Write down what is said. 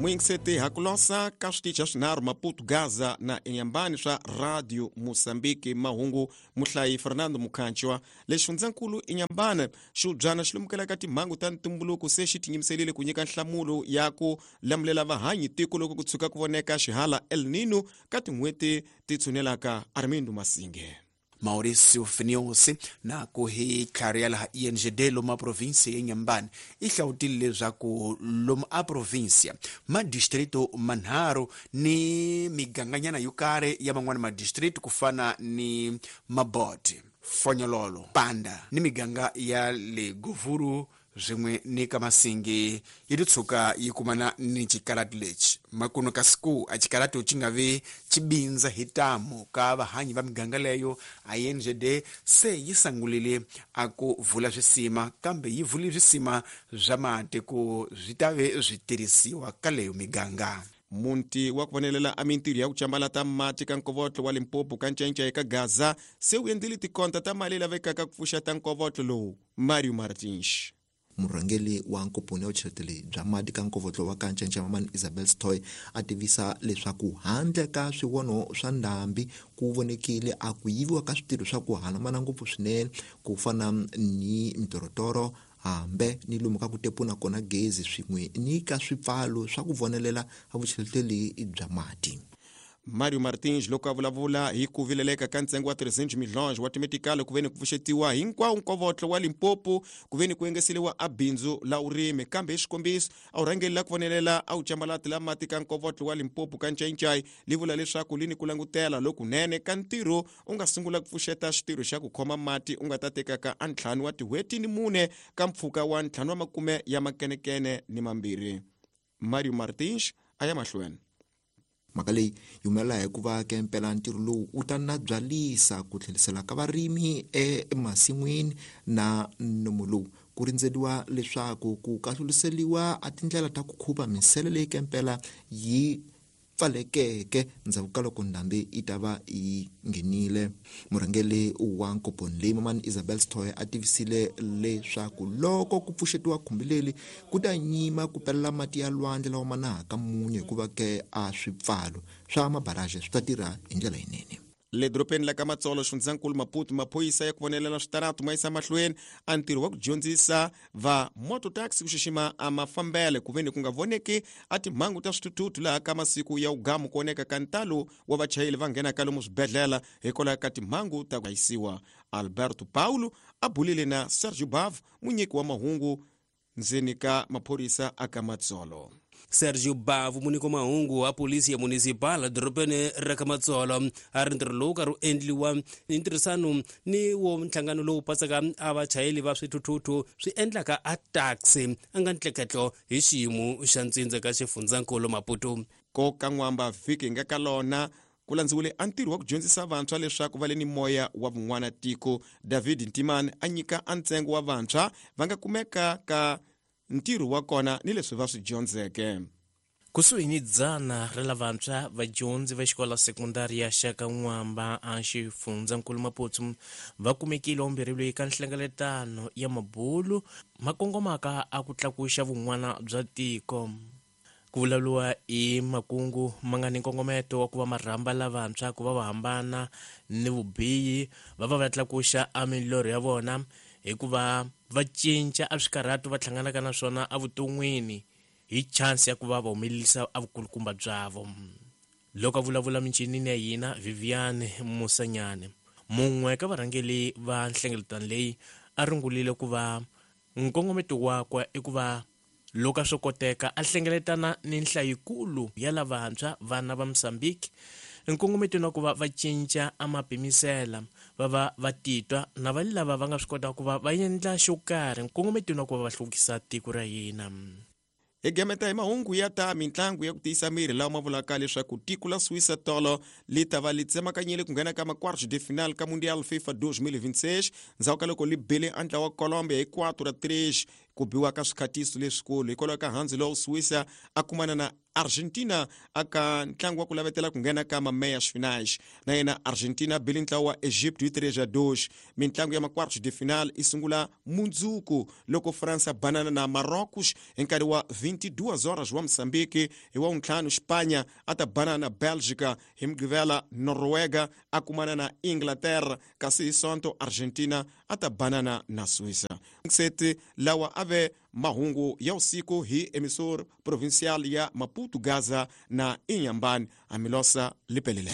Muyingiseti hakulosa ka switichi swinharhu Maputo, Gaza na Inhambane swa Radio Mozambique. Mahungu muhlayi Fernando Mukhanchwa. Lexi fundzankulu Inhambane xiubyana xi lemukela timhangu ta ntumbuluko se xi tinyimiserile ku nyika nhlamulo ya ku lamulela vahanyi tiko loko ku tshuka ku voneka xihala El Nino ka tin'hweti ti tshunelaka. Armindo Masinge. Mauricio Finiosi na ku hi tlhari ya laha INGD lomu a provinsia ya Inhambane i hlawutile leswaku lomu a provinsia madistrito manharhu ni miganganyana yo karhi ya man'wana madistrito ku fana ni Mabote, Fonyololo, Panda ni miganga ya le Govuru swin'we ni ka Masingi yi ti tshuka yi kumana ni xikarati lexi. Makuno ka siku a xikarati xi nga vi xi bindza hi tamu ka vahanyi va miganga leyo. INGD se yi sangulile a ku vula swisima, kambe yi vule swisima swa mati ku swi ta ve swi tirhisiwa ka leyo miganga. Munti wa ku vonelela a mintirho ya ku cambalata mati ka nkovotlo wa Limpopo ka ncenca eka Gaza se wu endlile tikonta ta mali lavekaka ku pfuxeta nkovotlo lowu. Mario Martins. Murhangeri wa nkomponi ya vucheleteli bya mati ka nkovotlo wa Kancenca Mamani Isabel Stoy a tivisa leswaku handle ka swivono swa ndhambi ku vonekile a ku yiviwa ka switirho swa ku hanamana ngopfu swinene ku fana ni mitorotoro hambe ni lomu ka ku tepuna kona gezi swin'we ni ka swipfalo swa ku vonelela a vucheleteli bya mati. Mario Martins loko a vulavula hi ku vileleka ka ntsengo wa 300 milhonge wa timetikali ku veni ku pfuxetiwa hinkwawo nkovotlo wa Limpopo ku veni ku engeseliwa a bindzu la urimi, kambe hi xikombiso a wu rhangeli la ku vonelela a wu cambalati la mati ka nkovotlo wa Limpopo ka Ncayincai li vula leswaku li ni ku langutela lokunene ka ntirho u nga sungula ku pfuxeta xitirho xa ku khoma mati u nga ta tekaka a ntlhanu wa tin'hweti ni mune ka mpfhuka wa ntlhanu wa makume ya makenekene ni mambirhi. Mario Martins a ya mahlweni. Mhaka leyi yi humelela hikuva ke mpela ntirho lowu wu ta nabyalisa ku tlherisela ka varimi emasin'wini na nomo lowu ku rindzeriwa leswaku ku kahluliseliwa a tindlela ta ku khuva minsele leyi ke mpela yi pfalekeke ndzhaku ka loko ndhambi yi ta va yi nghenile. Murhangeri wa nkomponi leyi Mamani Isabel Stoy a tivisile leswaku loko ku pfuxetiwa khumbi leri ku ta nyima ku pelela mati ya lwandle lawa ma nahaka munyu hikuva ke a swipfalo swa mabaraje swi ta tirha hi ndlela yinene. Le dorobeni la ka Matsolo, xifundzankulu Maputo, maphorisa ya ku vonelela switaratu ma yisa mahlweni a ntirho wa ku dyondzisa va mototaxi ku xixima a mafambele ku veni ku nga voneki a timhangu ta swithuthuthu laha ka masiku ya ugamu ku oneka ka ntalo wa vachayeri va nghenaka lomu swibedhlele hikwalaho ka timhangu ta ku yisiwa. Alberto Paulo a bulile na Sergio Bav, munyiki wa mahungu ndzeni ka maphorisa aka Matsolo. Sergio Bavu, munyiki wa mahungu wa polisi ya municipal dorobeni ra ka Matsolo, a ri ntirho lowu karhi wu endliwa hi ntirhisano ni wo nhlangano lowu patsaka a vachayeri va swithuthuthu swi endlaka a taxi a nga ntleketlo hi xiyimo xa ntsindza ka xifundzankulu Maputo. Koka n'wamba vhiki hi nga ka lona ku landziwile a ntirho wa ku dyondzisa vantshwa leswaku va le ni moya wa vun'wana tiko. David Ntimani a nyika a ntsengo wa vantshwa va nga kumeka ka ntirho wa kona ni leswi va swi dyondzeke. Kusuhi ni 100 ra lavantshwa vadyondzi va xikolo sekondari ya Xaka N'wamba a xifundzankulu Maputo va kumekile ombirhi eka nhlengeletano ya mabulu ma kongomaka a ku tlakuxa vun'wana bya tiko. Ku vulavuriwa hi makungu ma nga ni nkongometo wa ku va marhamba lavantshwa ku va va hambana ni vubihi, va va va tlakuxa a milorho ya vona hikuva va cinca a swikarhato va hlanganaka na swona evuton'wini hi chance ya ku va va humelerisa a vukulukumba byavo. Loko a vulavula minchinini ya hina, Vivian Musanyane, mun'we ka varhangeri va nhlengeletano leyi, a rungulile ku va nkongometo wakwe i ku va loko a swo koteka a hlengeletana ni nhlayikulu ya lavantshwa vana va Mozambique nkongometweni wa ku va va cinca a mapimisela, va va va titwa na va lava va nga swi kotaka ku va va endla xo karhi nkongometweni wa ku va va hluvukisa tiko ra hina. Hi gameta hi mahungu ya ta mintlangu ya ku tiyisa miri lawa ma vulaka leswaku tiko la Suíça tolo li ta va li tsemakanyile ku nghena ka ma-quartos de final ka Mundial FIFA 2026 ndzhaku ka loko li bile a ntlawa wa Colombia hi 4-3. Ku biwa ka swikhatiso leswikulu hikwalaho ka handzu lowu Suíça a kumana na Argentina aka ntlangu wa ku lavetela ku nghena ka mameyas finais. Na yena Argentina bile ntlawa wa Egypt hi 3-2. Mintlangu ya ma-quartos de final i sungula mundzuku loko França banana na Marrocos hi nkarhi wa 22 horas wa Moçambique. Hi wa wuntlhanu Espanha a ta banana na Bélgica, hi Mugqivela Noruega a kumana na Inglaterra, kasi hi Sonto Argentina a ta banana na Suíça. Seti lawa ave mahungu ya usiku hi emissor provincial ya Maputo, Gaza na Inhambane. Amilosa lipelele.